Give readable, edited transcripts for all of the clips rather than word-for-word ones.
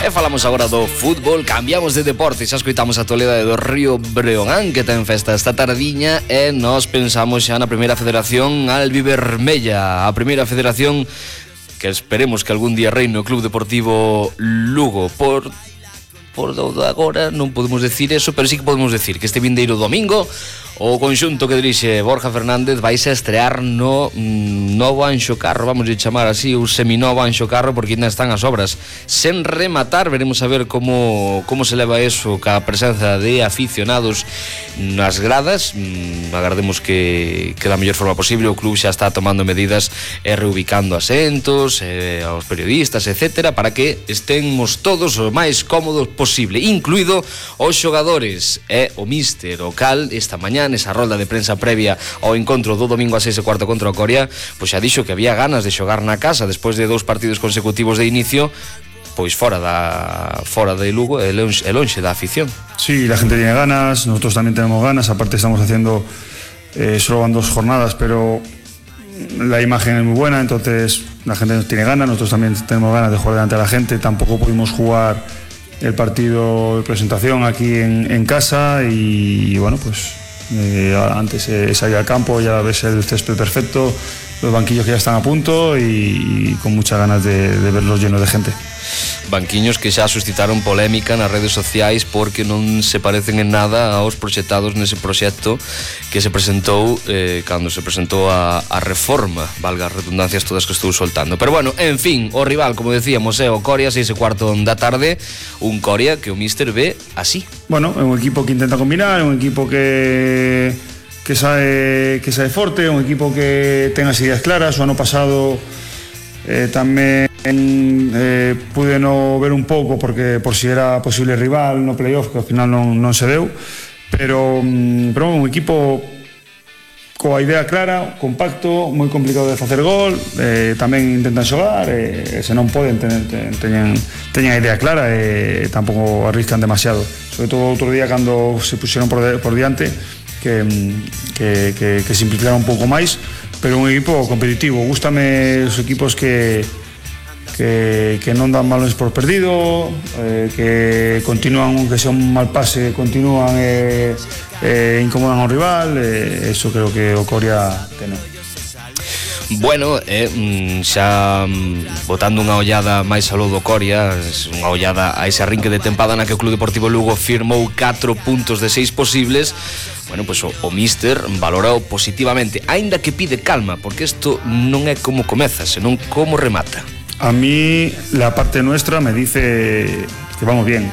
E falamos agora do fútbol, cambiamos de deporte, xa escoitamos a actualidade do Río Breogán, que ten festa esta tardiña, e nos pensamos xa na primeira federación albivermella, a primeira federación que esperemos que algún día reine o Club Deportivo Lugo. Por agora non podemos decir eso, pero sí que podemos decir que este vindeiro domingo o conxunto que dirixe Borja Fernández vaise a estrear no novo Anxo Carro, vamos a chamar así, o seminovo Anxo Carro, porque ainda están as obras sen rematar. Veremos a ver como se leva eso ca presenza de aficionados nas gradas. Agardemos que da mellor forma posible. O club xa está tomando medidas e reubicando asentos aos periodistas, etcétera, para que estemos todos o máis cómodos posible, incluído os xogadores e o míster. O cal esta mañá nesa rolda de prensa previa ao encontro do domingo a 6:15 contra o Coria, pois xa dixo que había ganas de xogar na casa despois de 2 partidos consecutivos de inicio, pois fora de Lugo e lonxe da afición. Sí, la gente tiene ganas, nosotros también tenemos ganas, aparte estamos haciendo solo van 2 jornadas, pero la imagen es muy buena, entonces la gente tiene ganas, nosotros también tenemos ganas de jugar delante de la gente. Tampoco pudimos jugar el partido de presentación aquí en casa y bueno, pues antes salir al campo, ya ves el césped perfecto, los banquillos que ya están a punto y con muchas ganas de verlos llenos de gente. Banquiños que xa suscitaron polémica nas redes sociais porque non se parecen en nada aos proxectados nese proxecto que se presentou cando se presentou a reforma, valga as redundancias todas que estou soltando. Pero bueno, en fin, o rival, como decíamos, é o Coria, 6:15 da tarde, un Coria que o míster ve así. Bueno, é un equipo que intenta combinar, é un equipo que sabe forte, un equipo que ten as ideas claras. O ano pasado tamén pude no ver un pouco porque por si era posible rival no playoff, que ao final non se deu, pero un equipo coa idea clara, compacto, moi complicado de facer gol, tamén intentan xogar, se non poden teñen a idea clara e tampouco arriscan demasiado, sobre todo outro día cando se puxeron por diante que simplificaron un pouco máis, pero un equipo competitivo. Gústame os equipos que non dan balones por perdido, que continúan, aunque sea un mal pase, continúan incomodan ao rival. Eso creo que o Coria ten. Bueno, xa botando unha ollada máis aló do Coria, unha ollada a ese arrinque de tempada na que o Club Deportivo Lugo firmou 4 puntos de 6 posibles. Bueno, pois o míster valorou positivamente, aínda que pide calma, porque isto non é como comeza, senón como remata. A mí la parte nuestra me dice que vamos bien,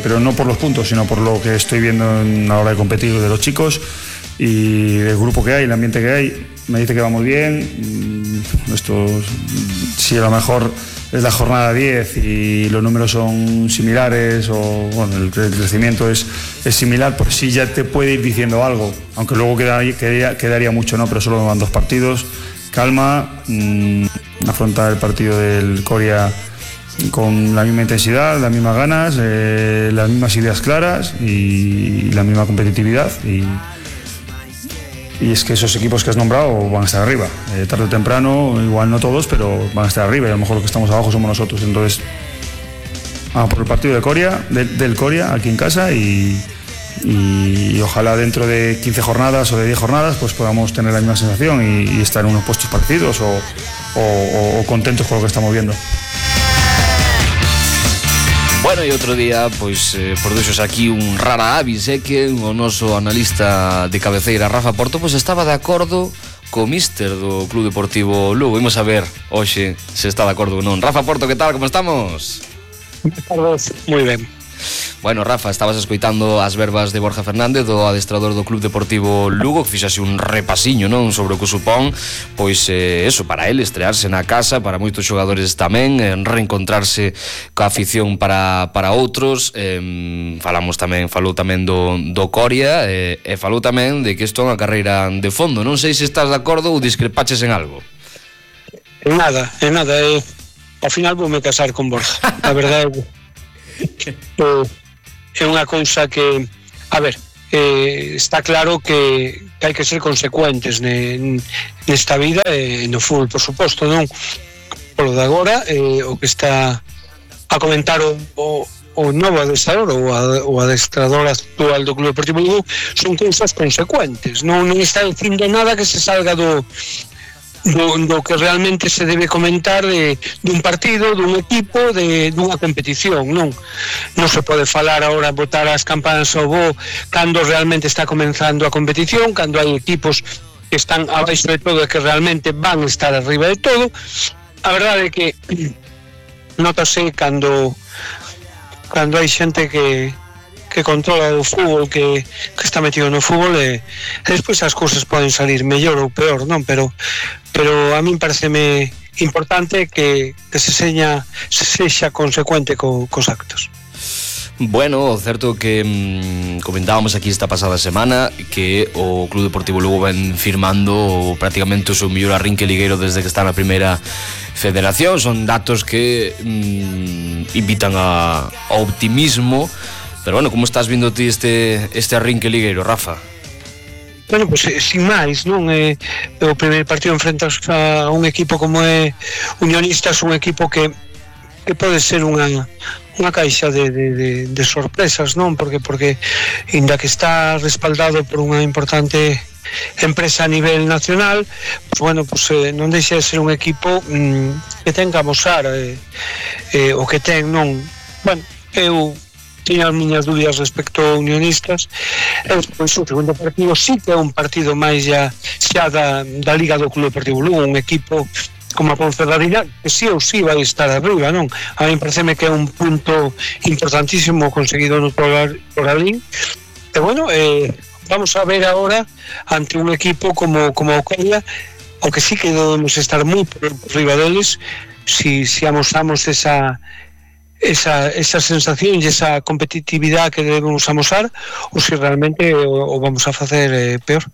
pero no por los puntos, sino por lo que estoy viendo en la hora de competir de los chicos y el grupo que hay, el ambiente que hay. Me dice que vamos bien. Si a lo mejor es la jornada 10 y los números son similares, o bueno, el crecimiento es similar, pues sí ya te puede ir diciendo algo, aunque luego quedaría mucho, ¿no? Pero solo van 2 partidos. Calma, afrontar el partido del Coria con la misma intensidad, las mismas ganas, las mismas ideas claras y la misma competitividad. Y es que esos equipos que has nombrado van a estar arriba, tarde o temprano, igual no todos, pero van a estar arriba, y a lo mejor los que estamos abajo somos nosotros. Entonces vamos por el partido de Coria, del Coria aquí en casa, y ojalá dentro de 15 jornadas o de 10 jornadas pues podamos tener la misma sensación y estar en unos puestos parecidos o contentos con lo que estamos viendo. Bueno, e outro día, pois, produxos aquí un rara avis, que o noso analista de cabeceira, Rafa Porto, pois estaba de acordo co míster do Club Deportivo Lugo. Imos a ver hoxe se está de acordo ou non. Rafa Porto, que tal? Como estamos? Buenas tardes, moi ben. Bueno, Rafa, estabas escoitando as verbas de Borja Fernández, do adestrador do Club Deportivo Lugo, que fixase un repasiño, non, sobre o que supón, pois eso, para ele estrearse na casa, para moitos xogadores tamén, reencontrarse coa afición para outros. Falou tamén do Coria, e falou tamén de que isto é unha carreira de fondo. Non sei se estás de acordo ou discrepaches en algo. En nada, ao final voume casar con Borja, a verdade. É unha cousa que, a ver, está claro que hai que ser consecuentes nesta vida e no fútbol, por suposto, non? Polo de agora, o que está comentar o novo adestrador ou adestrador actual do Club Deportivo Lugo, son cousas consecuentes, non está dicindo nada que se salga do que realmente se debe comentar dun partido, dun equipo, dunha competición. Non se pode falar agora, botar as campanas ao bo cando realmente está comenzando a competición, cando hai equipos que están abaixo de todo e que realmente van estar arriba de todo. A verdade é que notase cando hai xente que controla o fútbol, que está metido no fútbol, e despois as cousas poden salir mellor ou peor, non? Pero a min pareceme importante que se sexa consecuente cos actos. Bueno, certo que comentábamos aquí esta pasada semana que o Club Deportivo Lugo ven firmando prácticamente o seu mellor arrinque ligueiro desde que está na primeira federación. Son datos que invitan a optimismo. Pero bueno, como estás vindo ti este arrinque ligueiro, Rafa? Bueno, pues sin máis, non? O primeiro partido enfrentas a un equipo como é Unionistas, un equipo que pode ser unha caixa de sorpresas, non? Porque inda que está respaldado por unha importante empresa a nivel nacional, pues bueno, pues non deixa de ser un equipo que ten que amosar o que ten, non? Bueno, eu tiña as miñas dúbidas respecto a Unionistas, e despois o segundo partido sí que é un partido máis xa da Liga do Club Deportivo Lugo, un equipo como a Ponferradina, que sí ou sí vai estar arriba, non? A mí pareceme que é un punto importantísimo conseguido no Toralín, e bueno, vamos a ver agora ante un equipo como o Coria, aunque sí que debemos estar moi por riba deles, si amosamos esa sensación e esa competitividade que debemos amosar, ou se realmente o vamos a facer peor.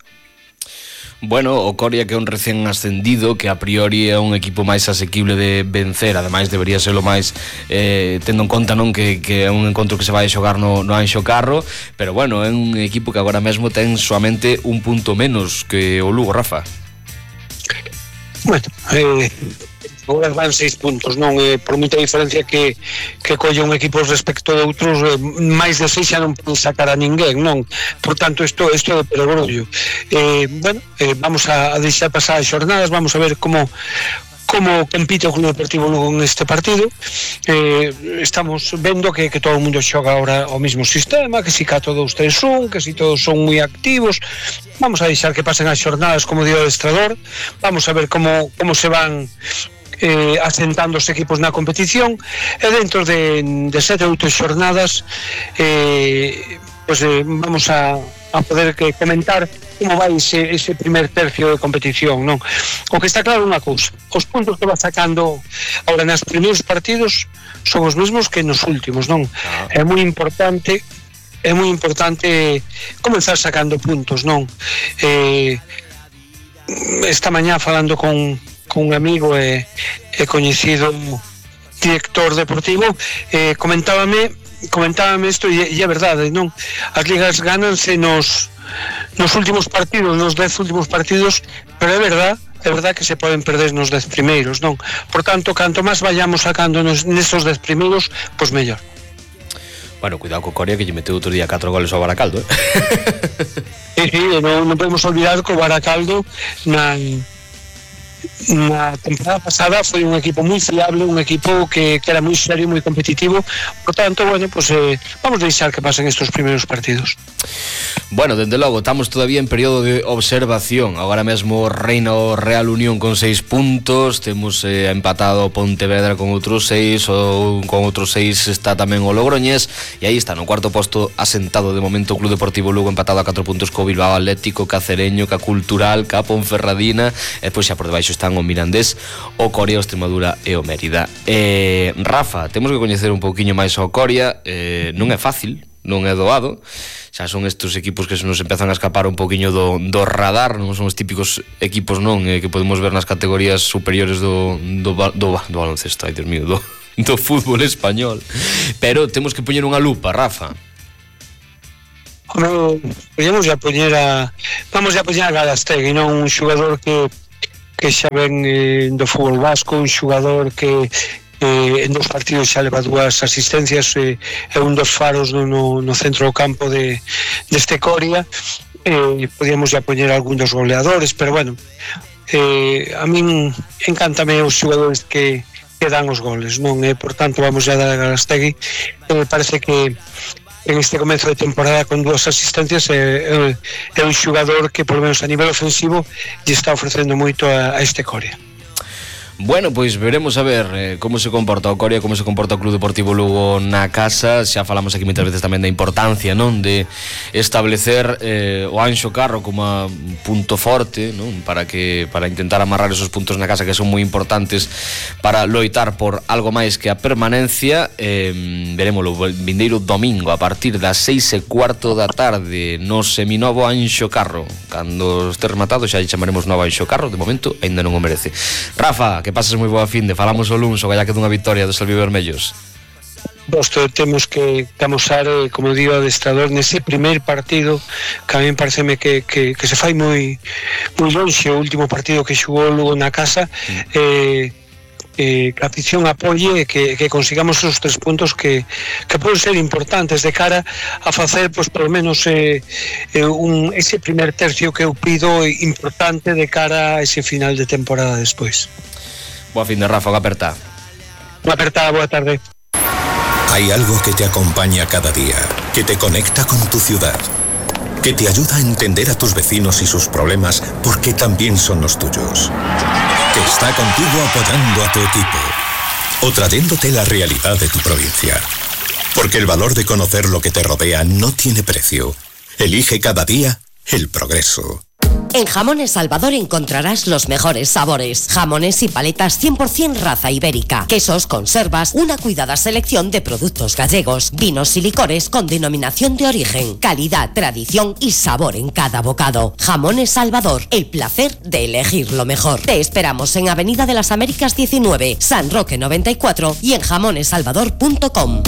Bueno, o Coria, que é un recén ascendido, que a priori é un equipo máis asequible de vencer, ademais debería ser o máis tendo en conta, non, que é un encontro que se vai xogar no Anxo Carro, pero bueno, é un equipo que agora mesmo ten soamente un punto menos que o Lugo, Rafa. Bueno, agora van 6 puntos, non? Por moita diferencia que colle un equipo respecto de outros, máis de 6 xa non pode sacar a ninguén, non? Por tanto, isto é de perogrullo. Bueno, vamos a deixar pasar as xornadas, vamos a ver como compite o Club Deportivo Lugo en este partido. Estamos vendo que todo o mundo xoga agora o mismo sistema, que si 4-2-3-1, que si todos son moi activos. Vamos a deixar que pasen as xornadas, como dio o adestrador, vamos a ver como se van asentando os equipos na competición, e dentro de 7 ou 8 xornadas vamos a poder comentar como vai ese primer tercio de competición, non? O que está claro unha cousa, os puntos que va sacando agora nos primeiros partidos son os mesmos que nos últimos, non? É moi importante comenzar sacando puntos, non? Esta mañá falando con un amigo e coñecido director deportivo, comentábame isto, e é verdade, non? As ligas gánanse nos últimos partidos, nos 10 últimos partidos, pero é verdade que se poden perder nos 10 primeiros, non? Por tanto, canto máis vayamos sacando nestos 10 primeiros, pois mellor. Bueno, cuidado co Coria, que lle meteu outro día 4 goles ao Baracaldo, Sí, non podemos olvidar que o Baracaldo na temporada pasada foi un equipo moi fiable, un equipo que era moi serio, moi competitivo. Por tanto, bueno, pues vamos a deixar que pasen estos primeiros partidos. Bueno, dende logo, estamos todavía en período de observación. Agora mesmo reina o Real Unión con 6 puntos. Temos empatado o Pontevedra con outros 6, ou con outros 6 está tamén o Logroñés, e aí está no cuarto posto asentado de momento o Club Deportivo Lugo, empatado a 4 puntos co Bilbao Atlético, ca Cereño, ca Cultural, ca Ponferradina, e pois xa por debaixo están o Mirandés, o Coria, o Extremadura e o Mérida. Rafa, temos que coñecer un pouquiño máis o Coria. Non é fácil, non é doado. Xa son estes equipos que se nos empezan a escapar un poquinho do radar, non son os típicos equipos, non, que podemos ver nas categorías superiores do baloncesto, ai Dios mío, do fútbol español. Pero temos que poñer unha lupa, Rafa. Vamos a poñer a Galastegui, non? Un xogador que xa ven do fútbol vasco, un xogador que en 2 partidos xa leva 2 asistencias, é un dos faros no centro do campo deste Coria. Podíamos já poñer algún dos goleadores, pero bueno, a min encántame os xogadores que dan os goles, non? Por tanto, vamos a dar a Galastegui. Parece que en este comezo de temporada con 2 asistencias é un xogador que, por lo menos a nivel ofensivo, lle está ofrecendo moito a este Coria. Bueno, pois veremos a ver como se comporta o Coria, como se comporta o Club Deportivo Lugo na casa. Xa falamos aquí moitas veces tamén da importancia, non, de establecer o Anxo Carro como a punto forte, non, para intentar amarrar esos puntos na casa que son moi importantes para loitar por algo máis que a permanencia. Veremoslo o vindeiro domingo a partir das 6:15 da tarde no seminovo Anxo Carro. Cando este rematado xa chamaremos novo Anxo Carro, de momento aínda non o merece. Rafa, que pases moi boa finde, falamos o luns o galla que dunha victoria dos albivermellos. Temos que amosar, como digo, adestrador nese primeiro partido, que a mí pareceme que se fai moi lonxe o último partido que xugou Lugo na casa. Que a afición apoie e que consigamos os 3 puntos que poden ser importantes de cara a facer, pois, por lo menos ese primer tercio que eu pido importante de cara a ese final de temporada despois. Boa fin de Rafa, aperta. Aperta, boa tarde. Hay algo que te acompaña cada día, que te conecta con tu ciudad, que te ayuda a entender a tus vecinos y sus problemas porque también son los tuyos, que está contigo apoyando a tu equipo o trayéndote la realidad de tu provincia. Porque el valor de conocer lo que te rodea no tiene precio. Elige cada día el progreso. En Jamones Salvador encontrarás los mejores sabores. Jamones y paletas 100% raza ibérica. Quesos, conservas, una cuidada selección de productos gallegos. Vinos y licores con denominación de origen. Calidad, tradición y sabor en cada bocado. Jamones Salvador, el placer de elegir lo mejor. Te esperamos en Avenida de las Américas 19, San Roque 94 y en jamonesalvador.com.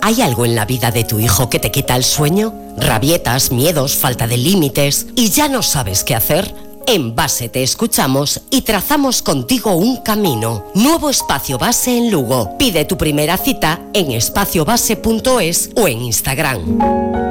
¿Hay algo en la vida de tu hijo que te quita el sueño? ¿Rabietas, miedos, falta de límites y ya no sabes qué hacer? En Base te escuchamos y trazamos contigo un camino. Nuevo espacio Base en Lugo. Pide tu primera cita en espaciobase.es o en Instagram.